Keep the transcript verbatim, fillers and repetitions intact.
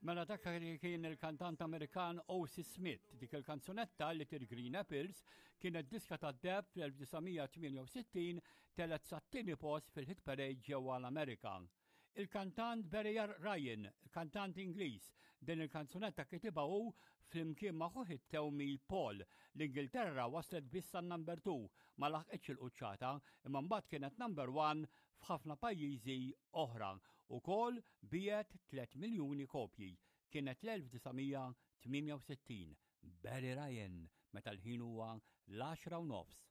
Mela dak kien il-kantant Amerikan O C. Smith. Dik il-kanzunetta, Little Green Apples, kienet diska ta' deheb fl-elf disa' mija tmienja u sittin, telgħet sat-tieni post fil-hit parade ġewwa l-Amerika. Il-kantant Barry Ryan, kantant Ingliż, din il-kanzunetta kitibha hu flimkien ma' ħuh it-tewmi Paul. L-Ingilterra waslet biss number two, ma laħqitx il-quċċata, imma mbagħad kienet number one f'ħafna pajjiżi oħra. Ukoll biegħet tliet miljuni kopji. Kienet l-elf disa' mija tmienja u sittin. Barry Ryan, meta l-ħin huwa l-għaxra u nofs.